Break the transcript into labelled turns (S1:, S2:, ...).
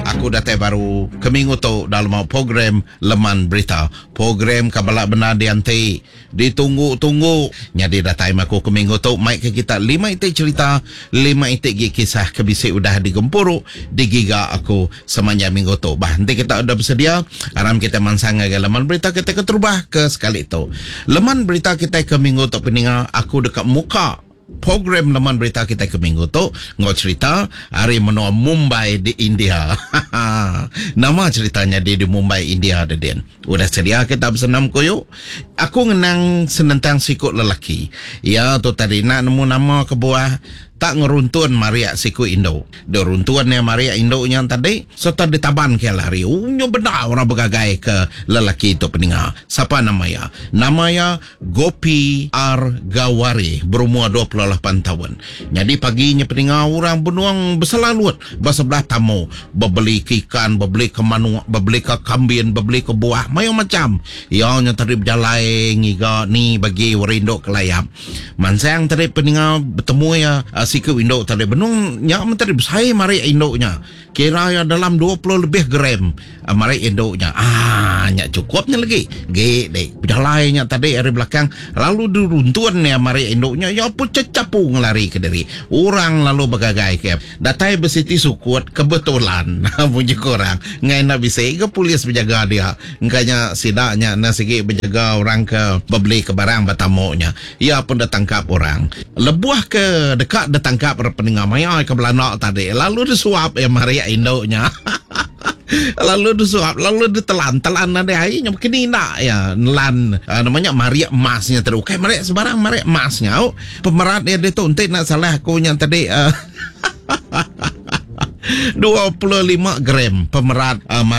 S1: Aku datai baru ke minggu tu dalam program Leman Berita. Program ke bala bendar dianti, ditunggu-tunggu. Nyadi datai meh aku ke minggu tu mai ke kita lima iti cherita, lima iti gi kisah ke bisi udah digempuru, digiga aku semanjai minggu tu. Bah enti kita udah besedia, aram kita mansang ngagai Leman Berita kita keterubah ke sekali tu. Leman Berita kitai ke minggu tu peninga aku deka muka Program leman berita kitai ke minggu tu enggau cherita ari menua Mumbai di India. Nama cherita nyadi di Mumbai India dedin? Udah sedia kita besenam kuyu? Aku ngenang senentang siku lelaki. Iya tu tadi enda nemu nama kebuah tak ngeruntun marik siku indu. Deh runtun iya marik indu nya tadi sereta ditaban ke iya lari. Unyu bendar orang begagai ke lelaki tu peninga. Sapa nama iya? Nama iya Gopi R. Gawari berumur 28 taun. Nyadi pagi nya peninga orang benung beselalut ba sebelah tamu bebeli ke ikan, bebeli ke manuk, bebeli ke kambin, bebeli ke buah mayuh macham. Iya nya tadi bejalai ngiga ni bagi orang indu ke layap. Mansang tadi peninga betemu iya siku indu tadi benung nya meh tadi besai marik indu nya. Kira iya dalam 20 lebih gram marik indu nya. Aaa nya chukup nya legi. Gi dek bejalai nya tadi ari belakang lalu diruntun iya marik indu nya iya pun chechapu ngelari ke diri. Orang lalu begagai ke datai besiti sukut kebetulan munyi ku orang enggai enda bisi ga polis bejaga dia. Engka nya sida nya enda sigi bejaga orang ke bebeli ke barang ba tamu nya. Iya pun ditangkap orang. Lebuh ke deka ditangkap re peninga maya ke belanda tadi lalu disuap iya marik indu nya. Lalu disuap lalu ditelan telan nadai ai nya kini enda iya nelan nama nya marik emas nya tadi ukai marik sebarang marik emas nya au. Pemerat iya ditu enti enda salah aku nya tadi 25 gram pemerat marik.